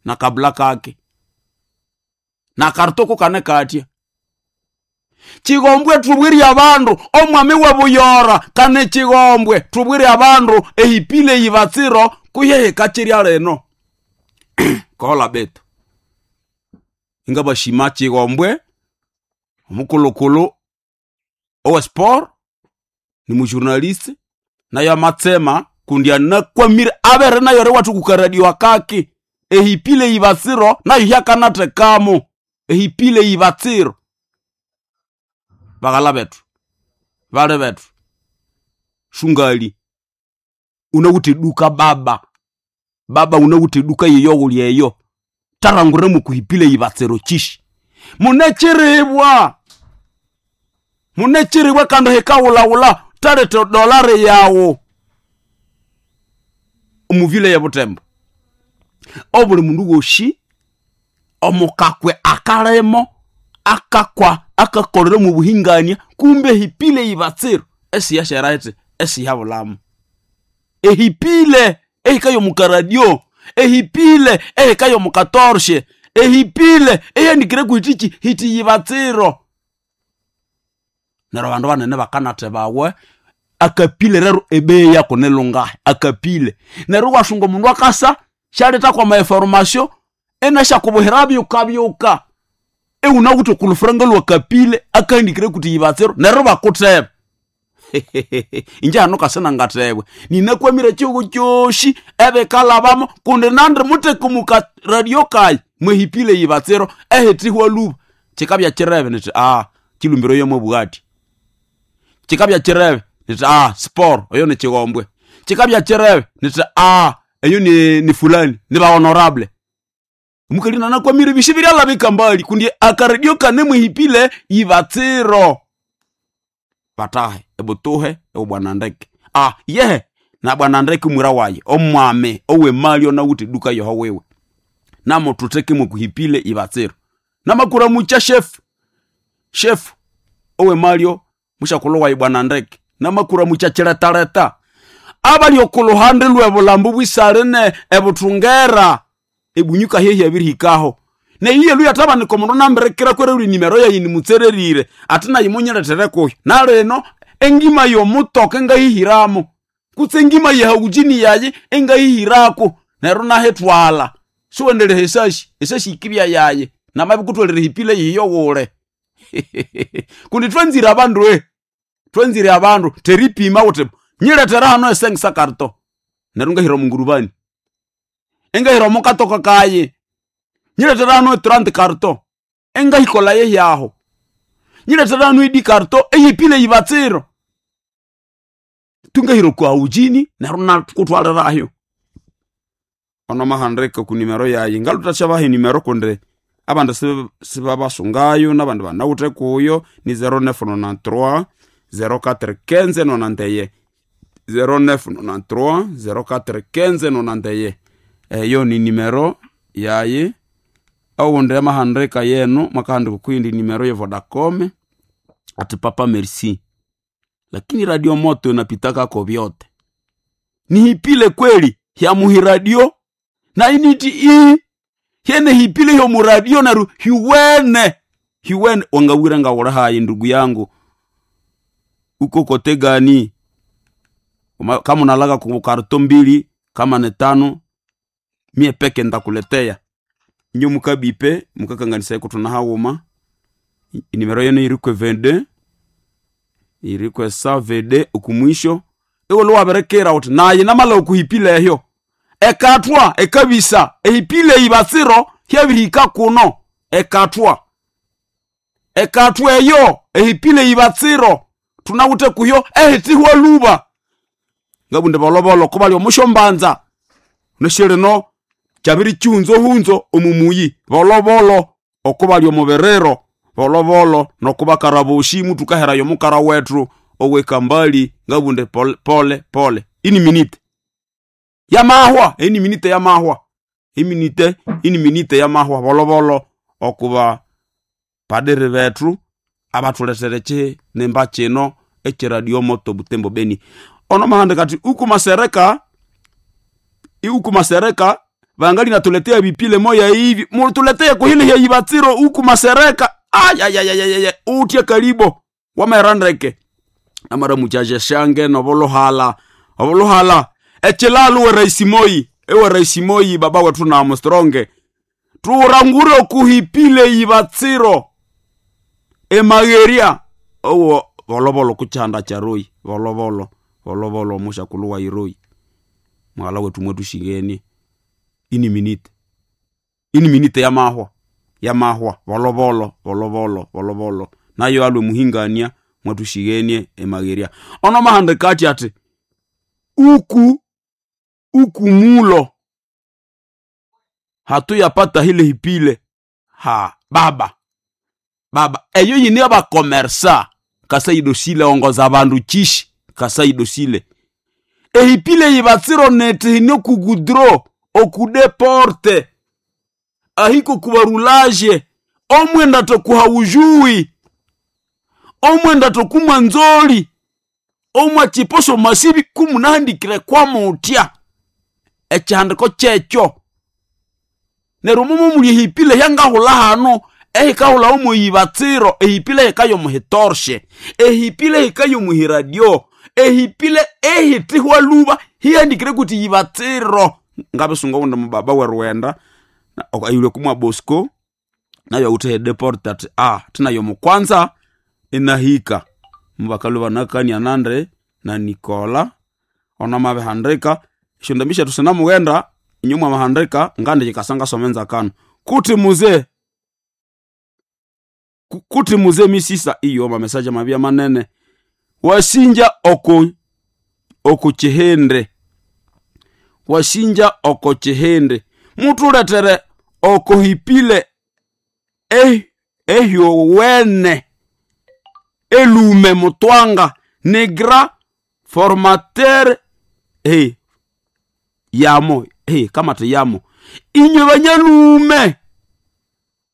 Na kabla kake na kartoko kane katya. Chigombwe tubwire abandu omwami webuyora kane chigombwe tubwire abandu ehipile yibatsiro kuyeheka chirya lino. Kola betu ingabashima chigombwe omukulukulu owe sport ni mujournaliste nayo amatsema kundi anakwamire abere nayo ri wathu kukaradio akaki ehipile yibatsiro nayo hyakanathekamo ehipile yibatsiro. Baghala bethu bali bethu shungali unawithe eduka baba baba unawithe eduka yeyo wuli eyo tarangure mukuhipile yibatsiro chishi munechiribwa munechiribwa kandi hikawulawula talete dolari yawu omuvile yebutembo obuli mundu woshi omukakwe akalemo akakwa akakolera mu buhingania kumbe hipile yibatsiro esiyashera iti esiyabulamo ehipile ehikayo mukaradio ehipile ehikayo mukatorshe ehipile eyanikire kuhitichi hiti yibatsiro. Neryo abandu banene bakanathe bawe akapile rero ebeyi yako nilungahi akapile neryo iwasunga omundu akasa syaletha kwama information enasyakubuhira byuka byuka iwunawithe okulufuranga lwakapile akahandikire kuti yibatsiro neryo bakutheba. Inje hano kasinangathebwa ninakwamire ekihugho kyosi ebikalhabamo kundi nandi mutheke muka radio kayi mwehipile yibatsiro ehithihwa lhuba. Kikabya kirebe nithi kilumbiro yomwabugha athi kikabya kirebe nithi sport oyo ni kigombwe kikabya kirebe nithi eyo ni fulani ni ba honorable. Omukali nanakwamire ebisi biryalhabika mbali kundi akaredio kane mwehipile yibatsiro. Batahe ebutuhe ewu ndeke yehe na bwana ndeke mwira waye omwami owemali onawithe eduka yoho wiwe namuthutheke mwakuhipile ibatsiro namakura mucha shefu shefu owemalyo mushakulhu wayi bwana ndeke namakura mucha chiletaleta abali okuluhande lw'ebulambo bwisaline ebuthungera ebunyuka hehi abirihikaho neyiye luya tabanika omundu nambirikira kwererwa nimero yayi nimutsererire ati nayi munyirethere kuyo nalino engima yomutoka engahihiramo kutse engima yehaujini yayi engahihirako neryo nahithwala siwendelere esashi esashi yikibya yayi namabikutholere hipile yiyo wule. Kundi twanzire abandu twanzire abandu teripima wuthi nyirethere hano esengisa karto neryo ngahira omungurubani engahira omukatoka kayi nyirethere hano etrant karto engahikolha yehyaho nyirethere hano edi karto eyipile yibatsiro tungahira okwa ujini neryo nakuthwalirayo. Ono mahandika ku nimero yayi ngalutha enimero kundi abandu sibabasungayo nabandi banawithe kuyo ni 0993 0415 91 0993 0415 91 eyo ni nimero yayi. Owundi amahandika yenu mwakahandika okuyindi nimero ye Vodacom ati papa merci lakini radio moto inapitakako vyote nihipile kweli hyamuhi radio na initi ii hyene hipile hyomu radio neryo hiwene hiwene wangawira ngawula hayi ndugu yangu uko kote gani kama unalaga ku karto mbili kama ni tano mie peke ndakuletea inyo mukabipe mukakanganisa kutuna hawuma nimero yenu irikwe 22 irikwe 122 okumwisho iwolo wabirekera uthi nayi namala okuhipila ehyo ekathwa ekabisa ehipile ibatsiro hyabirihika kuno ekathwa ekathwa eyo ehipile ibatsiro tunawithe kuyo ehithihwa luba ngabunde bolobolo kubali omushombanza neshilino kyabiri chihunzo hunzo omumuyi bolobolo okubali omuberero bolobolo nokubakaraboshi mutukaherayo omukara wethu owekambali ngabunde pole pole pole ini minite yamahwa eni minite yamahwa iminite ini minite yamahwa bolobolo okuba padiri bethu abathulethere chinemba kino ekiradio moto Butembo Beni. Ono mahandika ati uku masereka iuku masereka Vangali natuletea vipile moya hivi, mutuletee kuhile ya ibatsiro huku masereka. Ayayayayaya, utya karibo wamerandeke namara muchaje shange novolohala ovolohala echilalu we raisi Moi, ewe raisi Moi baba wetu na mstronge turangure kuhipile ibatsiro emageria owo volovolo kuchanda charoi volovolo volovolo mushakulu wa iroi mwala wetu mwetu shingeni ini minite, ini minite yamahwa yamahwa volovolo volovolo volovolo nayo alwe muhingania mwatushigenie emageria ono mahandikati ati uku uku mulo hatuyapata hile hipile ha baba baba eyo yini abakomersa kasaidosile ongoza bandu chishi kasaidosile ehipile yibatsiro nete hine kugudro okudeporte ahiko kubarulaje omwenda tokuhaujui omwenda tokumwa nzoli omwa chiposo masibi kumunahandikire kwamutya echihandiko kyekyo neryo mumo muli ehipile hyangahula hano ehikahula omuyibatsiro ehipile hikayo muhitorshe ehipile hikayo muhiradio ehipile ehitihwa luba hihandikire kuti yibatsiro ngabisunga wundi mubaba weruwenda ayulwe kumwa Bosco nayo awuthe deport ati ah tinayo mukwanza inahika mubakalu banakania nande na Nikola ona mabihandika esyo ndambi syethu sinamughenda inywe mwamahandika ngandi yikasanga somenza kano kuti muze kuti muze misisa iyo mamesaje mabya manene wasinja oko oko chihende wasinja oko chihende mutuletere okohipile ehyowene elume mutwanga negra formateur hey, yamo hey, kama te yamo inywe banyalume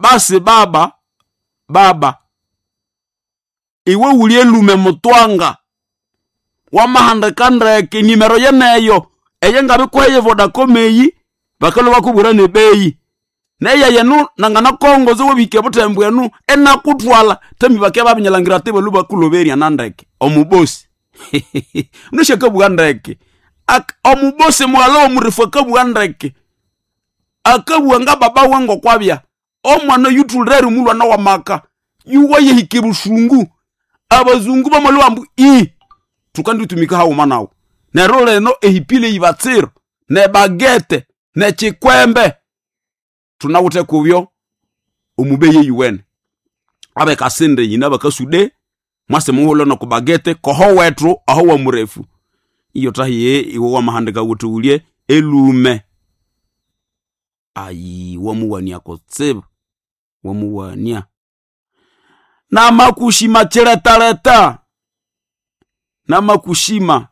basi baba baba iwe uli elume mutwanga wamahandika ndeke nimero yeneyo eye ngabikuheye Vodacom eyi bakalo bakubwira nebeyi neya yenu nangana kongozo webike butembo enu enakutwala temi bake babinyalangira te balu bakuloberia nandeke omubosi mnashakabwa ndeke omubosi mwalo omurifu akabwa ndeke akabwa nga baba wengo kwabya omwana yutulere mulwana wa maka yuwa yehike busungu abazungu bamalo ambu i tukanditumika hauma nawo neryo leno ehipile ibatsiro nebagete nechikwembe tunawuthe kubyo omubeye yuwene abekasinde yina bakasude mwase muhulo nokubagete koho wethu aho wa murefu iyo tahiye iwe wamahandika wuthi ulye elume ayi wamuwania kutsibu wamuwania namakushima chiletaleta namakushima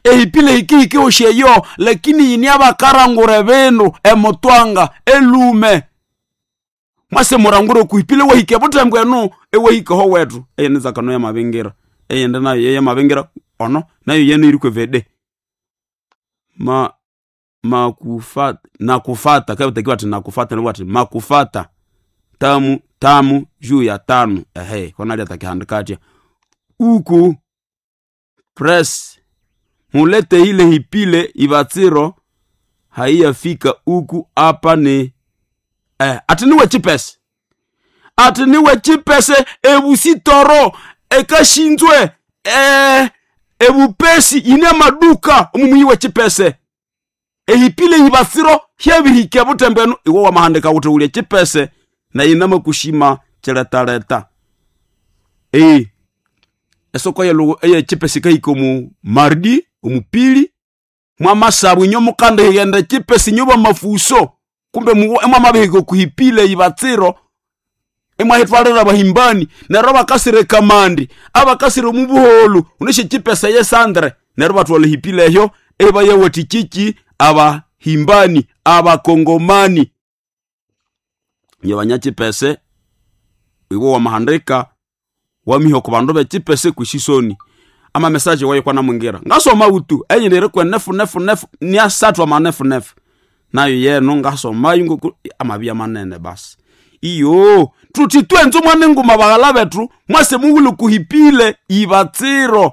ehipile hikihiki osheyo lakini yini abakarangure bindu emutwanga elume mwase murangure kuhipile wahike butembo enu ewahikeho wetu eyenizakano yamabingira eyende nayo yeyamabingira ono nayo yenu iri kwevede ma makufata nakufata kabitakiwa ati nakufata nibwo ati makufata tamu tamu juu ya tano ehe kona atakihandika atya uku press mulete ile hipile ibatsiro haiyafika uku apa ni ati niwe chipese ati niwe chipese ebusitoro ekashinzwe ebupesi ine maduka omumuyiwe chipese ehipile ibatsiro hyebihike butembenu iwe wamahandika wuthi ulye chipese na inamakushima chiletaleta esoko eye chipese kahika omu mardi omupili mwamasabu inyo mukanda highenda chipese inyo bamafuso kumbe mwamabihika okuhipile ibatsiro imwahitwalira abahimbani neryo abakasire kamandi abakasire omubuholu uneshe chipese yesandre neryo batwala hipile ehyo ebayawati chichi abahimbani abakongomani nye banyachipese iwe wamahandika wamiha ku bandu bechipese kwishisoni ama mesaje wayo kwana mwingira ngasoma utu enyinire kwe nefu nefu nefu ni asatu ama nefu nefu Nayo yeno ngasomayo ngoku amabya manene basi. Iyo tuti twenze omwana enguma baghala bethu mwase mughule kuhipile ibatsiro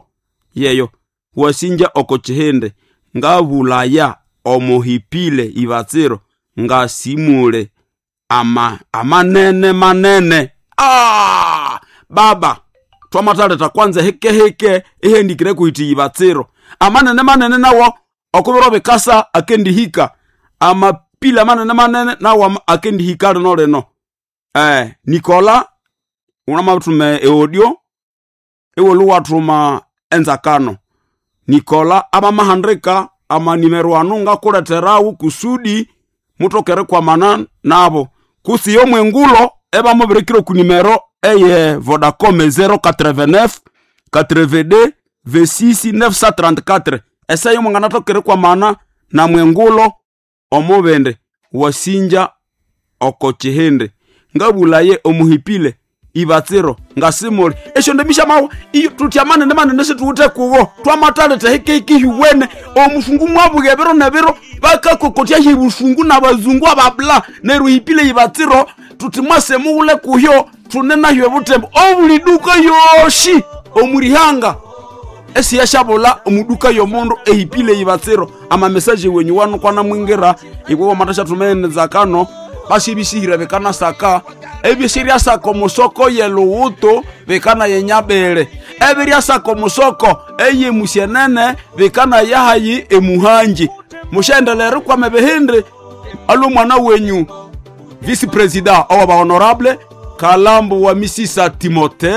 yeyo wasinja oko chihindi ngabulaya omuhipile ibatsiro ngasimule ama amanene manene. Ah, baba twamataleta kwanza hekeheke ihendikire kuhiti ibatsiro amanene manene nawo okubiro bikasa akendihika amapila manene manene nawo akendihika lino lino. Nikola unamathume eaudio iwolu wathuma enzakano. Nikola abamahandika amanimero anu ngakuleterawo kusudi mutokere kwamana nabo kusi yomwengulo ebamubirikire ku nimero eye Vodacom 089 82 26 934 eseyo mwanganatokere kwamana na mwengulo omubindi wasinja oko chihindi ngabulaye omuhipile ibatsiro ngasimuli esyo ndemisha mawa iyo tutya manene manene situwuthe kuwo twamataleta hikeikihiwene omusungu mwabuya ebiro nebiro bakakokotya hibusungu nabazungu ababla neryo hipile ibatsiro tuti mwase mughule kuhyo tune nahyo ebutembo obuli duka yoshi omulihanga esiyashabula omuduka yomundu ehipile ibatsiro. Amamesaje wenyu wanu kwana mwingira ikwe wamatashathumeneza kano basibisihire bikanasaka ebisiryasaka omusoko yeluwutu bikana yenyabele ebiryasaka omusoko eyemusyenene bikana yahayi emuhanji. Mushendelere rikwama ebihindi alwo mwana wenyu vice president owa honorable Kalambu wa Misisa Timote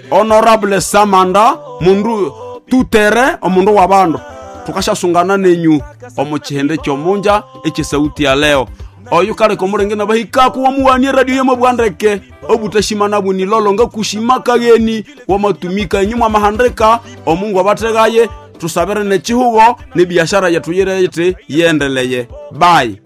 honorable Samanda mundu tutere omundu wa bandu. Tukashasungana nenyu omu chihende kyomunja ekisauti ya leo oyu kaleka omulenge nabahikaku wamuwanie radio yemobwandeke obutashimana bunilolo ngakushima kageni wamatumika inyu mwamahandika omungu abategaye tusabire nechihugo nebiashara yetu yirete yendeleye. Bye.